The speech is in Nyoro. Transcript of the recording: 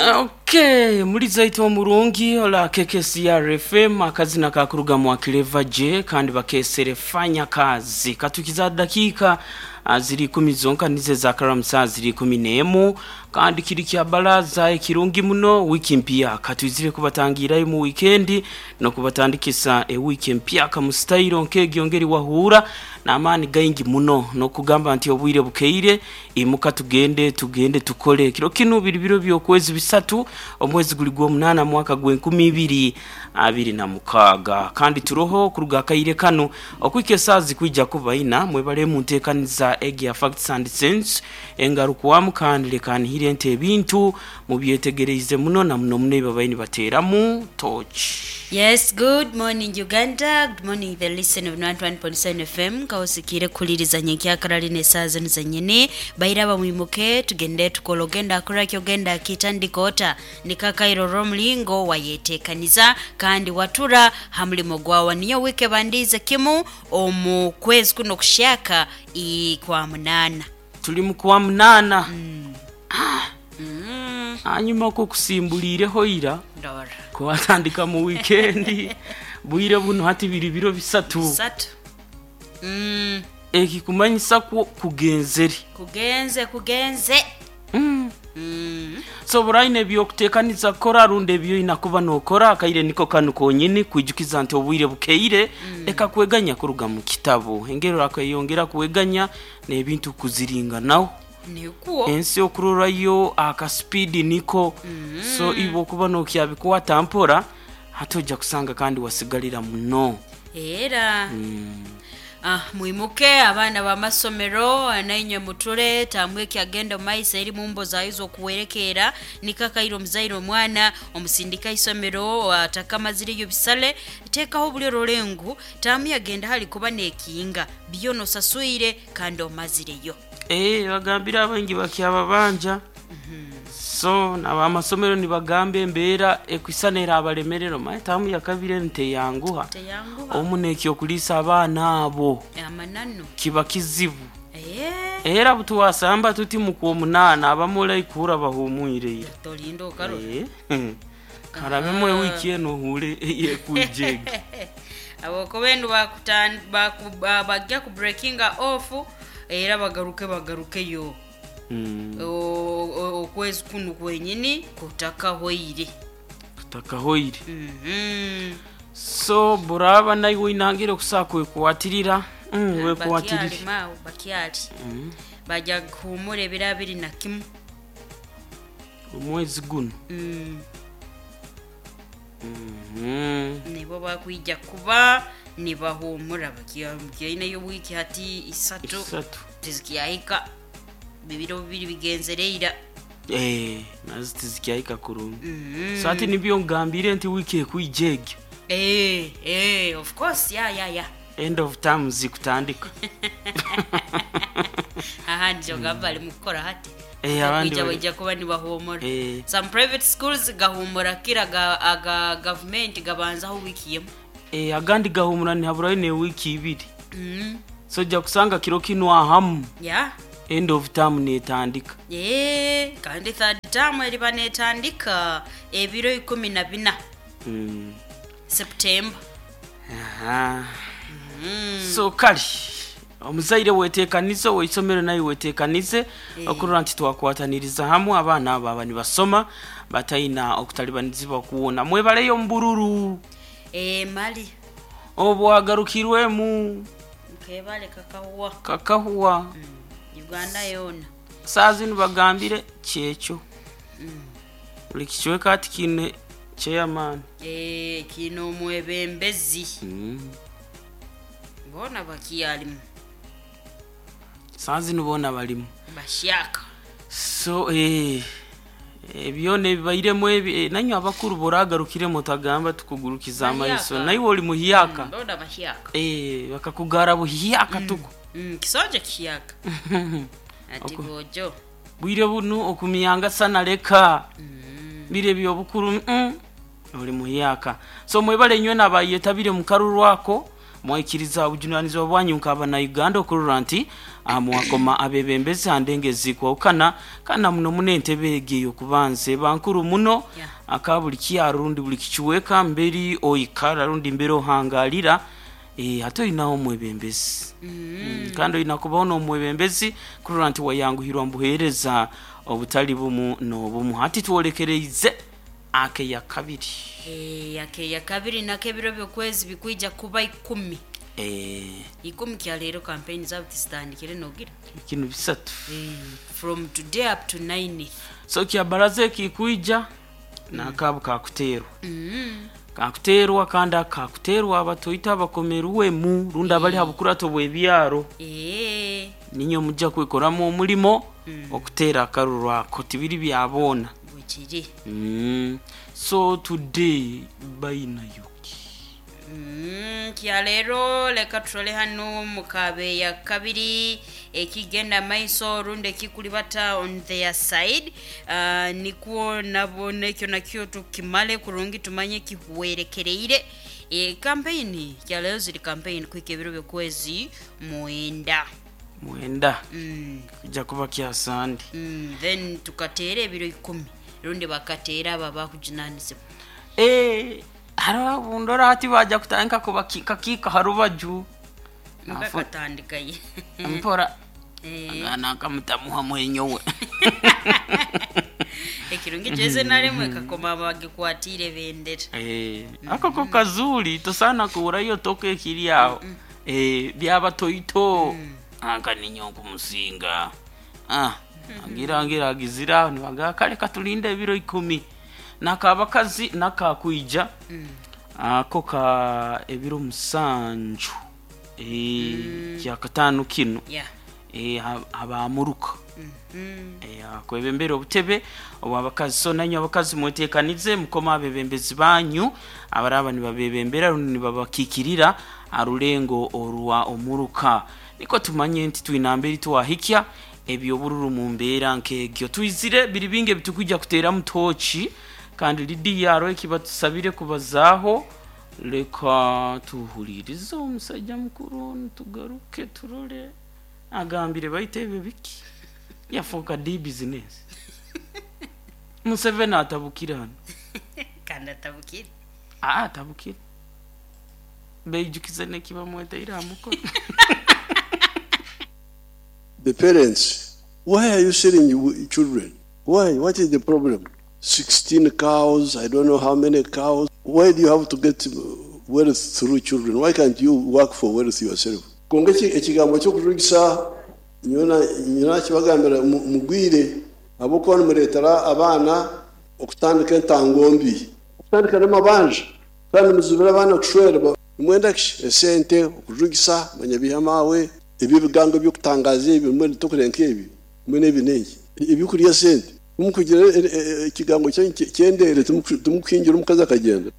Okay, muliza itwe omurungi ola KKCR FM, akazina kakuruga mu Clever J kandi bakesere fanya kazi. Katukiza dakika ziri 10 zonka nize za karamu saa ziri 11, kandi kiri kya baraza ekirungi muno. Wiki mpya katwizire kubatangirayo mu weekend no kubatandikisa e wiki mpya kamustairo nkegyongeri wahura n'amaani gaingi muno, nokugamba nti obwire bukeire, imuka tugende, tugende tukole. Kiro kinu biri biro by'okwezi 3, omwezi guli gw'omunaana, mwaka gw'e2026, kandi turoho kuruga akaire kano okwika esaaha zikwija kuba 4. Mwebale munteekaniza egi ya Facts and Sense engarukwamu, kandi leka nihire nti ebintu mubyetegereize muno na muno muno ebi babaire nibateeramu torch. Yes, good morning Uganda, good morning the listener of 91.7 FM. Kawosikire kukuliriza nyenkyakara lino esaaha zino zenyini. Bairaba mwimuke tugende tukole, ogenda akoraki, ogenda akitandika ota nikakairo olw'omulingo wayetekaniza kandi watura ha mulimo gwawa. Niyo wiiki ebandiize kimu omu kwezi kuno kushaka kwa munaana. Tuli mu kwa munaana. Hanyuma okwo kusimbuliireho ira Ndora. kuwatandika mu wikendi, bwire buno hati biri biro 3. Bisatu. Ekikumanyisa kwo kugenzere. Kugenze kugenze. So buraine ebyokuteekaniza kukora rundi ebyoina kuba nokora, akaire niko kanu konyini kwijukiza nti obwire bukeire. Leka kweganya kuruga mu kitabu engero, akayongera kweganya n'ebintu kuziringanaho. Nikuwo. Ensi okurorayo akasipidi niko. So iwe okuba nokyabikwata mpora, hati ojja kusanga kandi wasigalira muno. Era mwimuke abaana b'amasomero, nainywe muture tamwe ekyagenda omu maiso eri mumbo zayo z'okuwerekeera. Nikakaire omuzaire omwana omusindika isomero atakamazireyo bisale, teekaho buli orolengu taamu yagenda hali kuba n'ekinga byona osaswire kandi omazireyo. Bagambire abaingi bakyababanja, so nabamasomero nibagamba embeera ekwisana erabalemerera. Omaye taamu yakabiri enu teyanguha. Teyanguha. Omu n'ekyokuliisa abaana abo amananu kiba kizibu. Era butwasamba tuti mu kwomunaana abamu olaikuhura bahumwire ira. Tolinda okarora. Karabemu ewiki enu ohure eyekwija egi. Habwokuba enu bajja ku breakinga off era bagaruke bagarukeyo. Okwezi kunu kwenyini kutakahoire. Kutakahoire. So buraba naiwe oinangire okusobola kwekwatirira, wekwatirire. Bakyali maawe bakyali. Bajja kuhumura ebiro 21. Omwezi guno. Nibo bakwija kuba nibahumura bakyaineyo wiiki hati 3. 3. Tizikyahika bibiro bibiri bigenzere ira. Nazo tizikyahika kurungi. So hati nibyo ngambire nti wiiki ekwija egyo. Of course, ya ya ya. End of term zikutandika. Ahandi ogamba bali mukukora hati. Abandi bakwija baija kuba nibahumura. Some private schools gahumura kira aga government gabanzaho wiki yemu. Agandi gahumura nihaburayo ne wiki 2. So ojja kusanga kiro kinu ahamu. End of term netandika. Kandi third term eriba netandika ebiro 14. September. So kali omuzaire wetekanize, oweisomero naye wetekanize okurora nti twakwataniriza hamwe abaana abo aba nibasoma bataina okutalibanizibwa kuwona. Mwebaleyo omubururu. Mali. Obwagarukirwemu. Nkebale kakahuwa. Kakahuwa. Uganda yona. Saa zinu bagambire kyekyo. Buli kicweka ati kiine chairman. Kiine omwebembezi. Boona bakyalimu. Saa zinu boona balimu. Bashyaka. So ebyona ebibairemu ebi, nanywe abakuru boragarukiremu otagamba tukugurukiza amaiso. Naiwe oli muhyaka. Boona bahyaka. Bakakugara buhyaka tuku. Kisonje kihyaka. Ati bojo. Bwire bunu okumyanga sana leka. Bire byobukuru, oli muhyaka. So mwebale nywe nabayetabire mu karuru ako. Mwaikiriza obujunanizibwa bwanyu nk'abana Uganda okurora nti mwakoma abebembezi handengezi kwawukana kana muno muno entebe egi ey'okubanza eba nkuru muno. Aka buli kyaro rundi buli kikiweka mberi oikara rundi mberi ohangalira, hati olinaho omwebembezi. Kandi olina kubaho n'omwebembezi kurora nti wayanguhirwa mu buheereza obutali bumu n'obumu. Hati twolekereize akeya kabiri. Akeya kabiri nako ebiro by'okwezi bikwija kuba 10. 10 kya leero campaign zaabo tizitandikire nogira. Kinu 3. From today up to 9. So kya baraza ekikwija nakabu kakuteerwa. Kakuteerwa kandi akakuteerwa abatoita abakomerwemu rundi abali ha bukurato bw'ebyaro. Ninyo mujja kwikoramu omulimo okuteera akaruru ako tibiri byaboona. Bwekiri. So today bainayoki. Kya leero leka tutole hano mukabe ya kabiri ekigenda maiso rundi ekikulibata on their side. Nikwo nabo nekyo nakyo tukimale kurungi tumanye kihwerekereire. Campaign kya leero ziri campaign kwika ebiro by'okwezi 9. 9. Kujja kuba kya Sande. Then tukateera ebiro 10 rundi bakateera abo abakujunanizibwa. Hariho bundora hati baja kutandika kubakiikakiika ha rubaju. Bakatandikaye. Mpora. Agana akamutamuha mwenyowe. Ekirungi kyeze nalemwe kakoma bagikwatire bendera. Ako ko kazuri tosana kuurayo toka ekiri aho. Byaba toito. Anka ninyo kumusinga. Angira agizira nibaga kale katulinde ebiro 10. Nakabakazi nakakuija. Ako ka ebiro 7. Kya katano kino. Abamuruka. Kwebembera obutebe obwabakazi. So nanyu abakazi mwetekanize mukoma abebembezi banyu abaraba nibabebembera rundi nibabakikirira arulengo orwa omuruka. Niko tumanye nti twinamberi twahikya ebyobururu mu mbeera nk'egyo. Twizire biri bingi ebitukujja kuteera mutoki kandi Lidia aro ekibatusabire kubazaaho. Leka tuhulirize omusajja mukuru tugaruke turole agambire baite ebyo biki yafuuka di business. Museveni atabukira hano. Kandi atabukire. Atabukire. Beijukize nekibamweteire aha mukono. The parents, why are you selling children? Why? What is the problem? 16 cows, I don't know how many cows. Why do you have to get wealth through children? Why can't you work for wealth yourself? Konga ekigambo ky'okujugisa nyona kibagambira mugwire abuko nimureetera abaana okutandika entango mbi, okutandika n'amabanja, kandi muzibira abaana kushwerwa. Nimwenda ki esente okujugisa manyabihamawe eby'ebigango by'okutangaza ebi mbwenu tokurenka ebi mbwenu ebi n'enki ebyokurya sente tumukugira ekigambo kyendere tumukuhingira omukazi akagenda.